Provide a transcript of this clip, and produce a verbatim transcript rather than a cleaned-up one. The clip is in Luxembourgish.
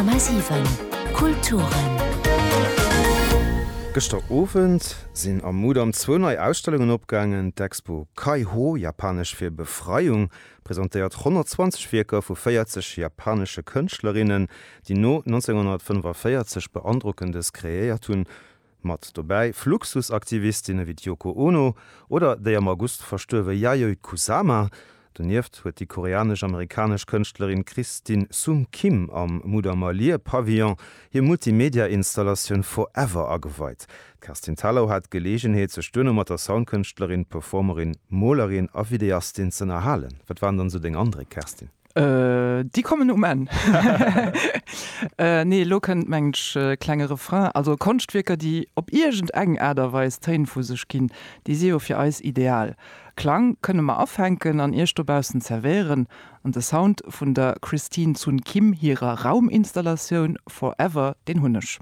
Komma siwen Kulturen. Gëschter Owend sinn am Mudam zwou nei Ausstellungen opgaangen. D'Expo Kaiho, japanesch fir Befreiung, presentéiert honnertzwanzeg Wierker vu véierzeg japanesche Kënschtlerinnen, déi no nonzénghonnertfënnefaféierzeg Beandrockendes kreéiert hunn. Mat dobäi Fluxus-Aktivistinne wéi d'Yoko Ono oder déi am August verstuerwe Yayoi Kusama. Donieft huet déi koreanesch-amerikanesch Kënschtlerin Christine Sun Kim am Mudamer Lear-Pavillon hir Multimedia-Installatioun Forever ageweit. D'Kerstin Thalau hat d'Geleegenheet, sech duerno mat der Soundkënschtlerin, Performerin, Molerin a Videastin z'ënnerhalen. Wat waren dann esou deng Andréck, Kerstin? Déi kommen um Enn. Nee, elo kënnt mengen ech e klenge Refrain. Also Konschtwierker, déi op iergend eng Aart a Weis Téin vu sech ginn, déi si jo fir eis ideal. Klang kënne mer afänken an iech dobaussen zerwéieren. An de Sound vun der Christine Sun Kim hirer Rauminstallatioun Forever, deen hunn ech.